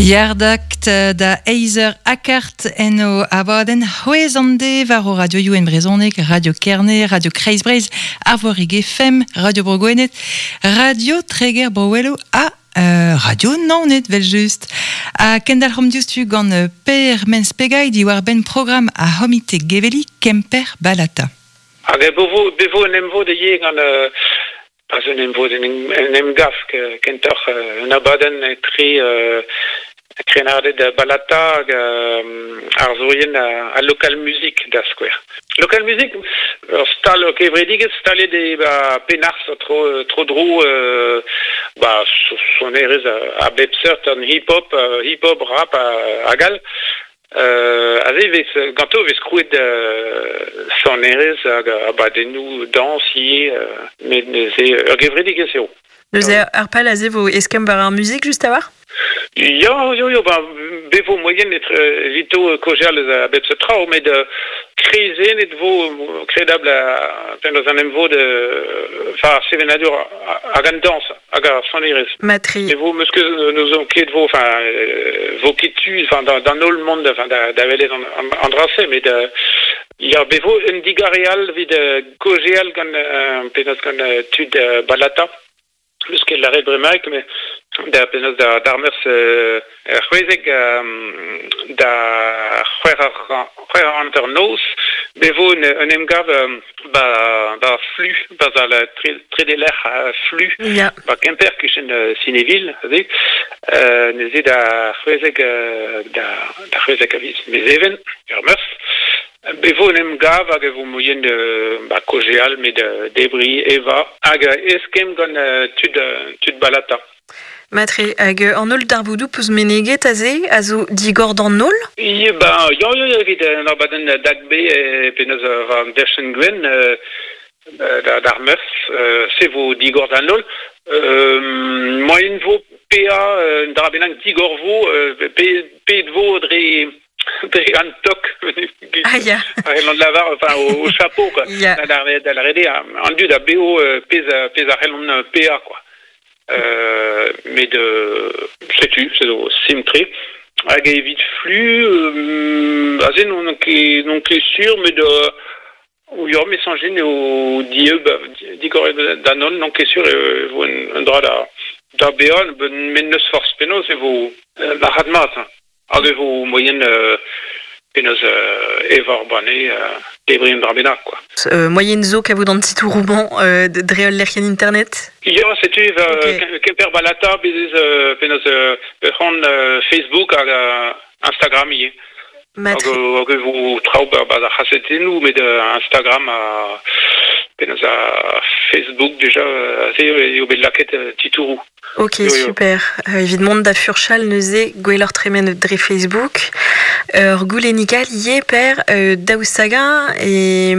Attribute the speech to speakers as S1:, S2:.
S1: Yardakt da eizer akart en o abadenn c'hwez an de war o radioioù en brezhoneg, Radio Kerne, Radio Kreiz Breizh, Arvorig FM, Radio Bro Gwened, Radio Treger Bro ha Radio Naoned vel just. Ha kendalc'homp diouzhtu gant Per Mens-Pegail diwar-benn programm ar c'homite geveli Kemper Balata.
S2: Hag bevo un emvod ivez gant pas un emvod, un emgav kentoc'h un abadenn etre krennarded Balata hag arzourien al Local Music da skouer. Local Music, ur stal kevredigezh staliet e ba Penarz tro-dro ba sonerezh a bep seurt, an hip-hop, hip-hop, rap hag all. Aze e vez ganto e vez krouet sonerezh hag abadennoù dañs ivez, met neuze ur gevredigezh eo.
S3: Neuze ar pal aze vo eskemm war ar muzik just a-walc'h?
S2: Ya, yo, yo, ba, be vo moaien evito kaozeal eus a bep seurt traoù, met kreizennet vo kredabl penaos an emvod enfin ar sevenadur hag an dañs hag ar sonerezh.
S3: Matre.
S2: E vo meus ket n'ouzon ket vo enfin vo ket tu enfin d'an holl mont enfin da welet an dra-se met ya be vo un digare all evit kaozeal gant penaos gant tud Balata. N'eus ket lâret bremaik, met da penaos d'ar meurzh 16 da c'hwec'h hanternoz be vo un emgav ba ba Flu, 'barzh al trede lec'h Flu, ba Kemper, kichen Cinéville aze. Neuze da 16 da 16 a viz Mezheven, ur meurzh. Be vo un emgav hag e vo moaien ba kaozeal met debriñ, evañ hag eskemm gant tud tud Balata.
S3: Matre, hag an holl darvoudoù peus meneget aze a zo digor d'an holl?
S2: Ya, ba, ya, ya, evit an abadenn DAGB penaos war an dachenn gwenn d'ar meurzh, se vo digor d'an holl. Moaien vo paeañ un dra bennak digor vo, paeet vo dre dre an tok
S3: Ah ya.
S2: a lavar enfin au chapeau quoi.
S3: Ya.
S2: Da lâret eo an dud a baeo pezh a c'hellont paeañ quoi. Met setu, se zo simpl-tre. Hag evit flu, aze n'on ket n'on ket sur, met ya, me soñj eo dieub, digor d'an holl, n'on ket sur e vo un dra da baeañ, met n'eus forzh penaos e vo marc'had-mat. Hag e vo moaien penaos evañ ur banne, debriñ un dra bennak quoi.
S3: Moaien zo kavout an titouroù-mañ dre ul lec'hienn internet?
S2: Ya, setu Kemper Balata, bez ez penaos ur c'hont Facebook hag Instagram ivez.
S3: Matre.
S2: Hag e vo traoù 'ba ar c'hazetennoù, met Instagram ha penaos ar Facebook déjà, aze eo bet lakaet titouroù.
S3: Ok, super. Evit mont da furchal neuze, gwelloc'h tremen dre Facebook. Ur goulennig all ivez, Per, daoust hag-eñ e